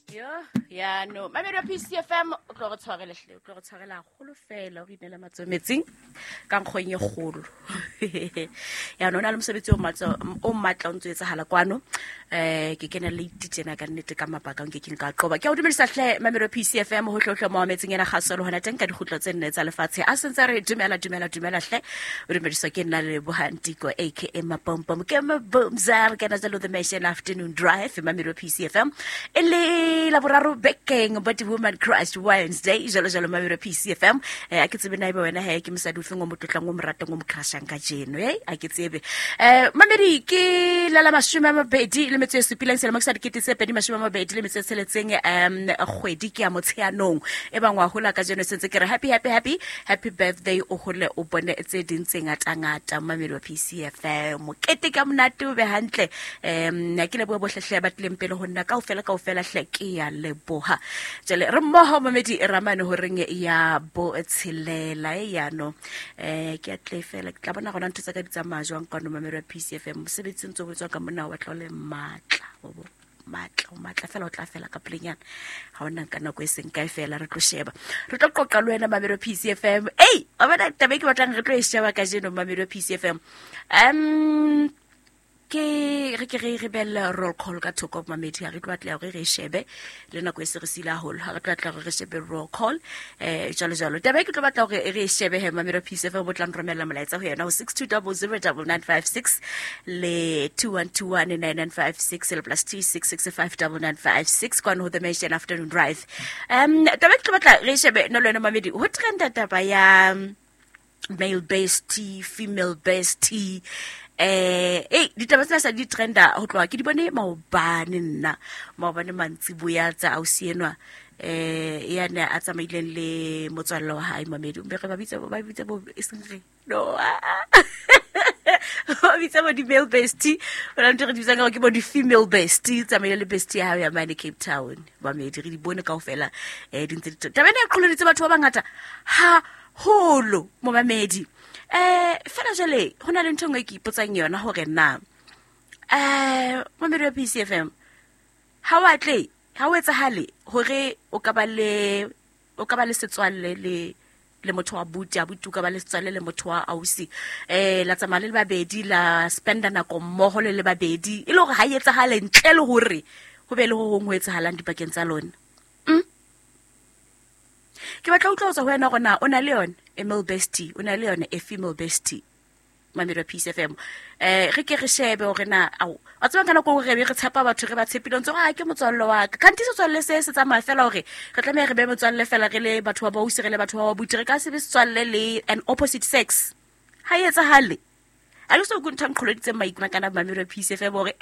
Yo, ya no. Mamedi wa PCFM o tlo re tshwarele hle, o tlo re tshwarela haholo fela o re inela matsoho metsing ka nkgong e kgolo. Ya no, o na le mosebetsi o matla o matla o ntso etsahala kwano. Ke kena late tjena ka nnete ka mabaka nke ke nka qoba. Ke a o dumedisa hle mamedi wa PCFM ho hlohle mo metsing ena kgaso le hona teng ka dikgutlo tse nne tsa lefatshe. A sentse re dumela dumela dumela hle. O dumediswa ke nna le Bohantiko aka Mapompom ke Mabumza re kena jalo the Mission Afternoon Drive mamedi wa PCFM. E le la boraro bekeng but woman crush Wednesday jalo jalo mamedi wa PCFM. A ke tsebe na ebe wena he ke mosadi o feng o mo tlotlang o mo ratang o mo crushang ka jeno e a ke tsebe. Mamedi ke la la 27 selemo ke sa 2026 kgwedi ke ya Motsheanong e bang wa hola ka jeno sentse ke re happy happy happy happy birthday o hole o bone tse ding tse ngata-ngata mamedi wa PCFM mokete ka monate o be hantle. Ke leboha bohle hle ba tlileng pele ho nna kaofela kaofela hle ke ya leboha. Jwale re mmoho mamedi ramane horeng ya botshelela e yano ke a tle fela ke tla bona gona ntho tsa ka di tsamaya jwang kwano mamedi wa PCFM mosebetsi o ntse o etswa ka monna wa batla o le matla wa bo matla o matla fela o tla fela ka pelenyana ga o nang ka nako e seng kae fela re tlo sheba re tlo qoqa le wena mamedi wa PCFM. Ei wa bona taba e ke batlang re tlo e sheba kajeno mamedi wa PCFM ke re ke re re belle roll call ka thoko mamedi ha re tlo batla hore re e shebe le nako e se re sile haholo ha re tlo batla hore re shebe roll call jalo jalo. Taba e ke tlo batla hore re e shebe he mamedi wa PCFM bo tlang romella molaetsa ho yona ho 62009956 le 21219956 le plus 26659956 kwano ho the Mission Afternoon Drive. Taba e ke tlo batla re e shebe no le wena mamedi ho trenda taba ya male bestie, female bestie. Ditaba tsena sa di trenda ho tloha ke di bone maobane nna maobane mantsiboya tsa ausi enwa ya ne a tsamaileng le motswalle wa hae mamedi be re ba bitsa ba bitsa bo e seng re no ba bitsa bo di-male bestie o na ntho re di bitsang ka hore ke bo di-female bestie tsamaile le bestie ya hao ya mane Cape Town mamedi re di bone kaofela di ntse di taba ena e qholoditse batho ba bangata haholo mo mamedi. Fela jwale ho na le ntho e nngwe e ke ipotsang yona hore na mamedi wa PCFM ha o atle ha o etsahale hore o ka ba le o ka ba le setswalle le le motho wa buti abuti o ka ba le setswalle le motho wa ausi la tsamaya le le babedi la spenda nako mmoho le le babedi e le hore ha e etsahale ntle le hore ho be le ho hong ho etsahalang dipakeng tsa lona. Ke batla ho utlwa ho tswa ho wena hore na o na le yona e male bestie o na le yona e female bestie mamedi wa PCFM. Re ke re shebe hore na ao wa tseba ka nako re be re tshepa batho re ba tshepile ntse a ke motswalle wa ka kanti setswalle se se tsamaya fela hore re tlameha re be motswalle fela re le batho ba bausi re le batho ba babuti re ka se be setswalle le an opposite sex ha e etsahale. A ke so go ntho nqholoditseng maikutlo kana mamedi wa PCFM hore